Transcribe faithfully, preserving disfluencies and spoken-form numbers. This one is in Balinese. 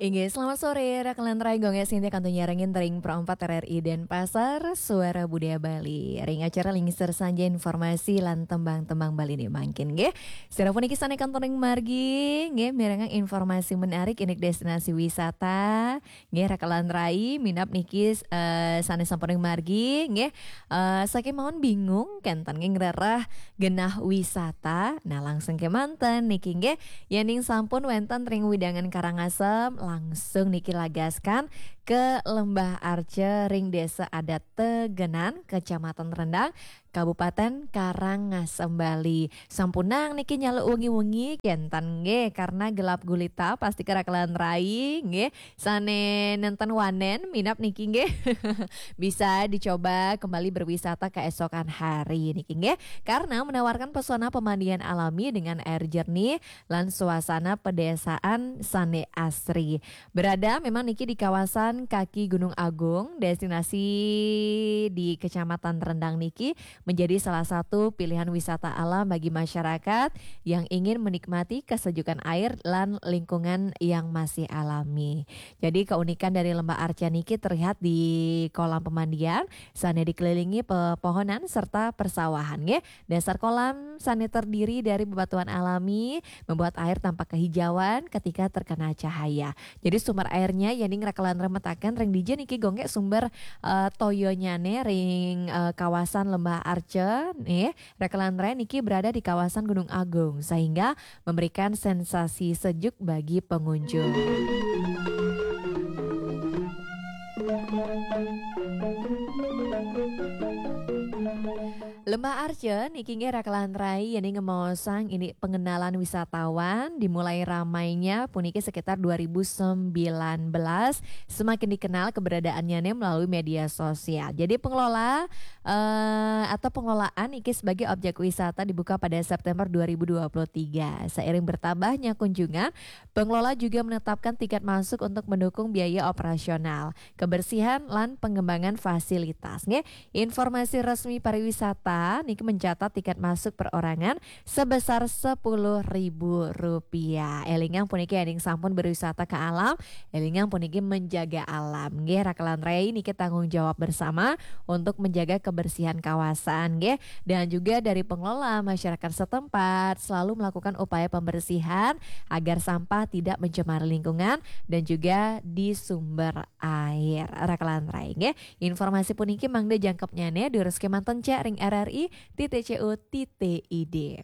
Inggih, selamat sore, rakan lantarai, Gung Sinti kantun nyarengin ring Pro empat R R I Denpasar, Suara Budaya Bali. Ring acara Lingsir Sanja, informasi lan tembang-tembang Bali né mangkin, nggih. Sira puniki sané kantun ring margi, nggih, mirengang informasi menarik indik destinasi wisata. Nggih, rakan lantarai, minab niki, eh, sané sampun ring margi, nggih. Eh, sakémaon bingung kénten nggih ngrereh genah wisata. Nah, langsung kémanten niki, nggih. Yéning sampun wénten ring wewidangan Karangasem, langsung niki lagaskan ke Lembah Arca ring Désa Adat Tegenan, Kecamatan Rendang, Kabupaten Karangasem, Bali. Sampunang niki nyaluk wengi-wengi kénten nggih, karena gelap gulita, pastika rakan lantarai nggih, sané nénten wanén minab niki nggih. Bisa dicoba kembali berwisata keesokan hari niki nggih, karena menawarkan pesona pemandian alami dengan air jernih lan suasana pedesaan sané asri. Berada memang niki di kawasan kaki Gunung Agung, destinasi di Kecamatan Rendang niki menjadi salah satu pilihan wisata alam bagi masyarakat yang ingin menikmati kesejukan air lan lingkungan yang masih alami. Jadi, keunikan dari Lembah Arca niki terlihat di kolam pemandian sané dikelilingi pepohonan serta persawahan, nggih. Dasar kolam sané terdiri dari bebatuan alami, membuat air tampak kehijauan ketika terkena cahaya. Jadi, sumber airnya yéning rakan lantarai mataken ring dija niki, Gung, sumber, eh, toyanyané ring, eh, kawasan Lembah Arca, nggih. Rakan lantarai niki berada di kawasan Gunung Agung, sehingga memberikan sensasi sejuk bagi pengunjung. Lembah Arca niki nggih, rakan lantarai, yéning ngemaosang indik pengenalan wisatawan, dimulai ramainya puniki sekitar dua ribu sembilan belas, semakin dikenal keberadaannya nih melalui media sosial. Jadi, pengelola, eh, atau pengelolaan niki sebagai objek wisata dibuka pada September dua ribu dua puluh tiga. Seiring bertambahnya kunjungan, pengelola juga menetapkan tiket masuk untuk mendukung biaya operasional, kebersihan, lan pengembangan fasilitas, nggih. Informasi resmi pariwisata niki mencatat tiket masuk perorangan sebesar sepuluh ribu rupiah. Élingang puniki, yéning sampun berwisata ke alam, élingang puniki menjaga alam, nggih. Rakan lantarai, niki tanggung jawab bersama untuk menjaga kebersihan kawasan, nggih. Dan juga dari pengelola, masyarakat setempat selalu melakukan upaya pembersihan agar sampah tidak mencemari lingkungan dan juga di sumber air. Rakan lantarai, nggih. Informasi puniki mangda jangkepnyané, durus kémanten cek ring R R I titik C O titik I D.